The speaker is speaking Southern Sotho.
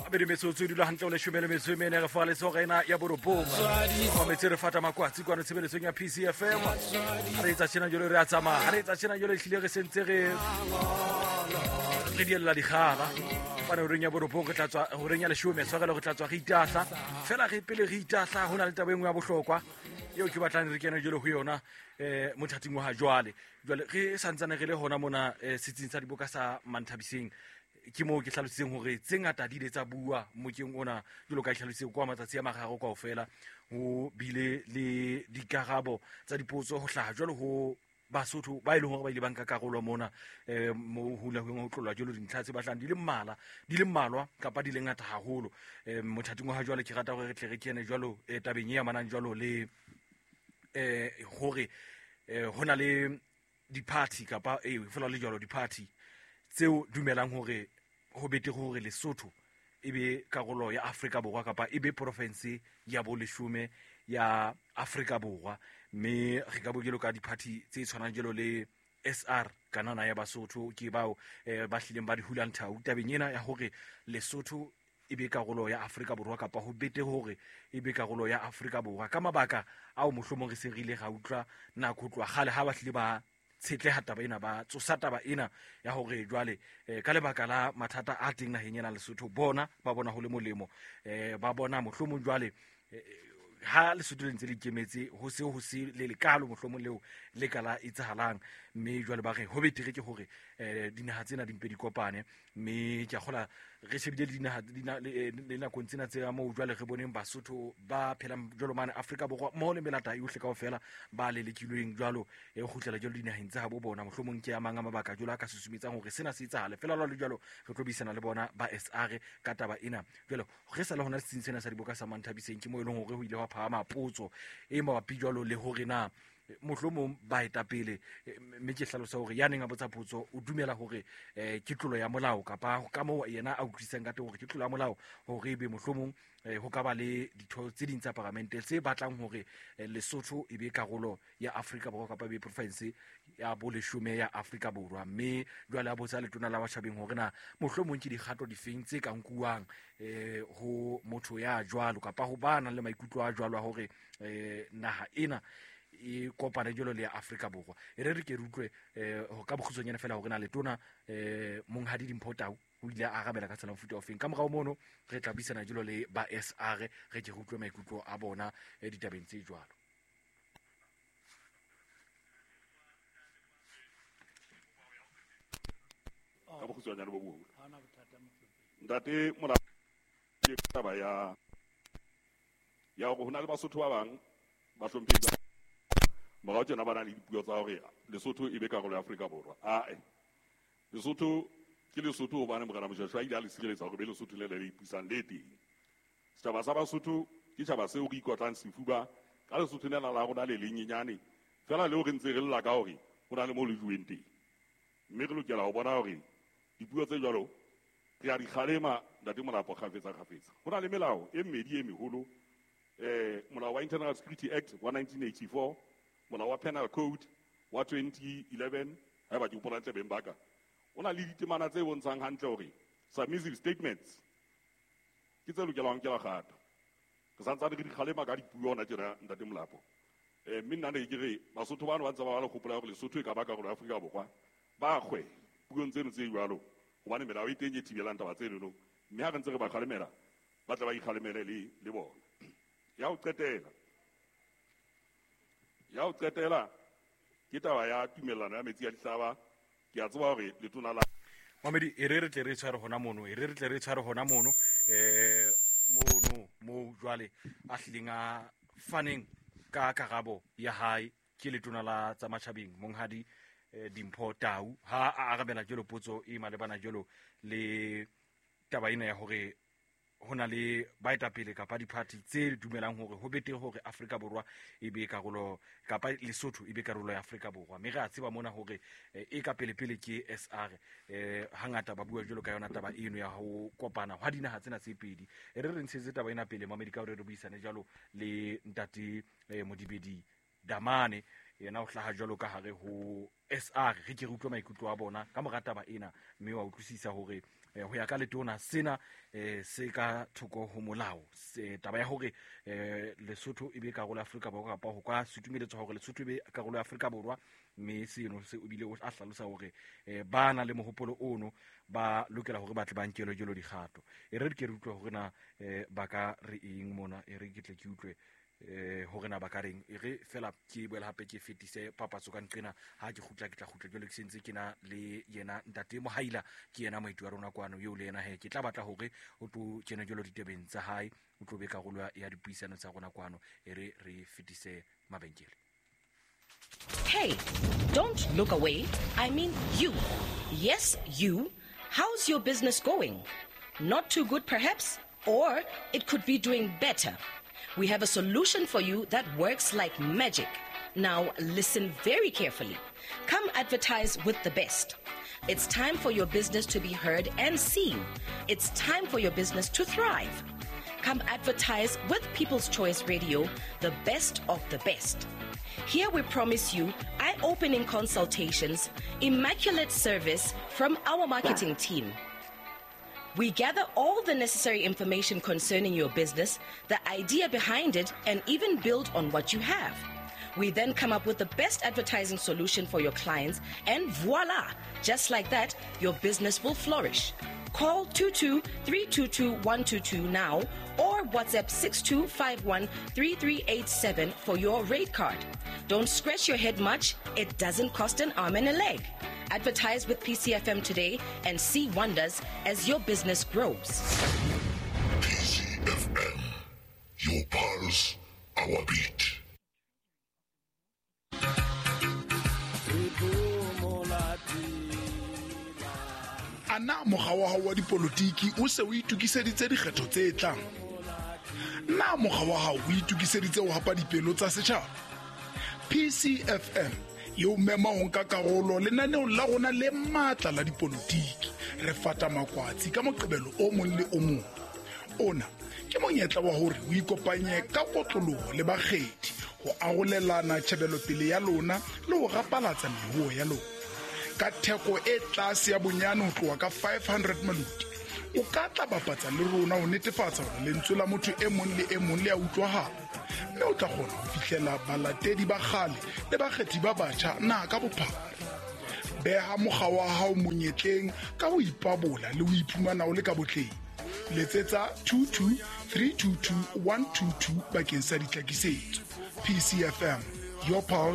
Abedi metsotso e dula hantle o leshome le metso e mene re fa letsogo ena ya borobong mametse re fata makwatsi kwano tshebeletsong ya PCFM. Ha re etsa tjena jalo re a tsamaya, ha re etsa tjena jalo ehlile re sentse re re diella dikgala fane horeng ya borobong re tla tswa horeng ya leshome tshwarelo re tla tswa re itahla fela re pele re itahla ho na le taba e nngwe ya bohlokwa eo ke batlang re kene jalo ho yona um mothating wa ha jwale. Jwale re santsane re le hona mona um setsing sa diboka sa Manthabiseng, ke moo ke hlalositseng hore tse ngata di ile tsa bua mokeng ona jwalo ka ke hlalositse kwa matsatsi a mararo kaofela ho bile le dikarabo tsa dipotso ho hlaha jwalo ho Basotho ba e leng hore ba ile ba nka karolo mona um mo ho ile ho tlolwa jwalo dintlha tse batlang di le mmala di le mmalwa kapa di le ngata haholo. Um mothating wa ha jwale ke rata hore re tle re kene jwalo um tabeng e amanang jwalo le um hore um ho na le di-party kapa ee fela le jwalo di-party tseo dumelang hore ho betere hore Lesotho e be karolo ya Afrika Borwa kapa e be province ya boleshome ya Afrika Borwa. Mme re ka bo jalo ka di-party tse tshwanang jalo le SR kanana ya Basotho ke bao ba hlileng ba di hulang thau tabeng ena ya hore Lesotho e be karolo ya Afrika Borwa kapa ho bete hore e be karolo ya Afrika Borwa ka mabaka ao mohlomong re se re ile ra utlwa nako ho tloha kgale ha ba hlile ba tshetleha taba ena, ba tsosa taba ena ya hore jwale ka lebaka la mathata a teng naheng ena Lesotho, bona ba bona ho le molemo, ba bona mohlomong jwale ha Lesotho le ntse le ikemetse ho se ho se le lekalo mohlomong leo le ka la etsahalang, mme jwale ba re ho betere ke hore dinaha tsena di mpe di kopane. Mme ke a kgola re shebile le dinaha le nakong tsena tse moo jwale re boneng Basotho ba phelang jwalo mane Afrika Borwa mmoho le melata yohle kaofela ba lelekilweng jwalo e kgutlela jwalo dinaheng tsa habo bona. Mohlomong ke a mang a mabaka jwalo a ka susumetsang hore sena se etsahale. Fela jwalo jwalo re tlo buisana le bona ba SR ka taba ena. Jwale re sa le hona setsing sena sa diboka sa Manthabiseng, ke moo e leng hore ho ile hwa phahama potso e mabapi jwalo le hore na mohlomong baetapele, mme ke hlalosa hore ya neng a botsa potso o dumela hore ke tlolo ya molao kapa ka moo yena a utlwisisang ka teng hore ke tlolo ya molao hore ebe mohlomong ho ka ba le ditho tse ding tsa paramente tse batlang hore Lesotho e be karolo ya Afrika Borwa kapa e be province ya boleshome ya Afrika Borwa. Mme jwale a botsa letona la batjhabeng hore na mohlomong ke dikgato difeng tse ka nkuwang ho motho ya jwalo kapa ho ba nang le maikutlo a jwalo a hore naha ena e kopane jwalo le ya Afrika Borwa. E re re ke re utlwe ka bokgutshwanyane fela hore na letona Monghadi Dimpho Tau o ile a arabela ka tsela mofuta ofeng. Ka morao mono re tla buisana jwalo le ba SR re ke re utlwe maikutlo a bona ditabeng tse jwalo. Ka bokgutshwanyane bo boholo. Ntate Mola, ke taba ya ya hore ho na le Basotho ba bang ba hlomphehi ba morao tjena ba na le dipuo tsa hore Lesotho e be karolo ya Afrika Borwa. Ae, Lesotho ke Lesotho hobane Morena Moshoeshoe a ile a le sireletsa hore be Lesotho le le le ipusang le teng. Setjhaba sa Basotho ke tjhaba seo re ikotlang sefuba ka Lesotho lena la rona le lenyenyane fela leo re ntse re lla ka hore ho na le moo le juweng teng. Mme re lokela ho bona hore dipuo tse jwalo re a di kgalema Ntate Molapo kgafetsa kgafetsa. Ho na le melao e mmedi e meholo, molao wa Internal Security Act wa 1984, molao wa Penal Code wa 2011, haeba ke hopola hantle beng ba ka. O na le ditemana tse bontshang hantle hore submissive statements ke tse lokelang ho nkelwa kgato. Re santsane re di kgalema ka dipuo hona tjena Ntate Molapo. Mme nna ne ke re Basotho bano ba ntse ba ba le kgopolo ya hore Lesotho e ka ba karolo ya Afrika Borwa, ba kgwe puong tseno tse jwalo hobane melao e teng e thibelang taba tsenono, mme ha re ntse re ba kgalemela ba tle ba ikgalemele le le bona. Ya ho qetela, ya ho qetela ke taba ya tumellano ya metsi a dihlaba. Ke a tseba hore letona la Mamedi, e re re tle re tshware hona mono, e re re tle re tshware hona mono, mono moo jwale a hlileng a faneng ka karabo ya hae ke letona la tsa matjhabeng Monghadi Dimpho Tau ha a arabela jwalo potso e malebana jwalo le taba ena ya hore ho na le baetapele kapa di-party tse dumelang hore ho betere hore Afrika Borwa e be karolo kapa Lesotho e be karolo ya Afrika Borwa. Mme re a tseba mona hore e ka pele-pele ke SR, hangata ba bua jwalo ka yona taba eno ya ho kopana hwa dinaha tsena tse pedi. E re re ntshetse taba ena pele Mamedi ka hore re buisane jwalo le ntate Modibedi Damane, yena o hlaha jwalo ka hare ho SR. Re ke re utlwe maikutlo a bona ka mora taba ena, mme wa utlwisisa hore Ho ya ka letona sena se ka thoko ho molao. Taba ya hore Lesotho e be karolo ya Afrika Borwa kapa ho ka sutumeletswa hore Lesotho e be karolo ya Afrika Borwa, mme seno se o bile a hlalosa hore ba na le mohopolo ono ba lokela hore ba tle ba nkelwe jalo dikgato. E re ke re utlwe hore na ba ka re eng mona, e re ke tle ke utlwe hore na ba ka reng. E re fela ke boela hape ke fetise papatso ka nqena, ha ke kgutla ke tla kgutla jwale ke sentse ke na le yena ntate Mohaila, ke yena moeti wa rona kwano eo le yena he ke tla batla hore o tlo kena jwalo ditebeng tsa hae, o tlo be karolo ya dipuisano tsa rona kwano. E re re fetise mabenkele. Hey, don't look away. I mean you. Yes, you. How's your business going? Not too good, perhaps? Or it could be doing better. We have a solution for you that works like magic. Now, listen very carefully. Come advertise with the best. It's time for your business to be heard and seen. It's time for your business to thrive. Come advertise with People's Choice Radio, the best of the best. Here we promise you eye opening consultations, immaculate service from our marketing team. We gather all the necessary information concerning your business, the idea behind it, and even build on what you have. We then come up with the best advertising solution for your clients, and voila! Just like that, your business will flourish. Call 22 322 122 now or WhatsApp 6251 3387 for your rate card. Don't scratch your head much, it doesn't cost an arm and a leg. Advertise with PCFM today and see wonders as your business grows. PCFM, your pulse, our beat. Ana mokga wa hao wa dipolotiki o se o itokiseditse dikgetho tse tlang? Na mokga wa hao o itokiseditse ho hapa dipelo tsa setjhaba? PCFM e o mema ho nka karolo lenaneong la rona le matla la dipolotiki. Re fata makwatsi ka Moqebelo o mong le o mong. Ona ke monyetla wa hore o ikopanye ka kotloloho le bakgethi ho arolelana tjhebelopele ya lona le ho rapalatsa meruo ya lona. Ka theko e tlase ya bonyane ho tloha ka 500 maloti, o ka tla bapatsa le rona ho netefatsa hore lentswe la motho e mong le e mong le a utlwahala, mme o tla kgona ho fihlela balatedi ba kgale le bakgethi ba batjha naha ka bophara. Beha mokga wa hao monyetleng ka ho ipabola le ho iphumana o le ka botleng. Letsetsa 22 322 122 bakeng sa ditlhakisetso. PCFM, your pulse,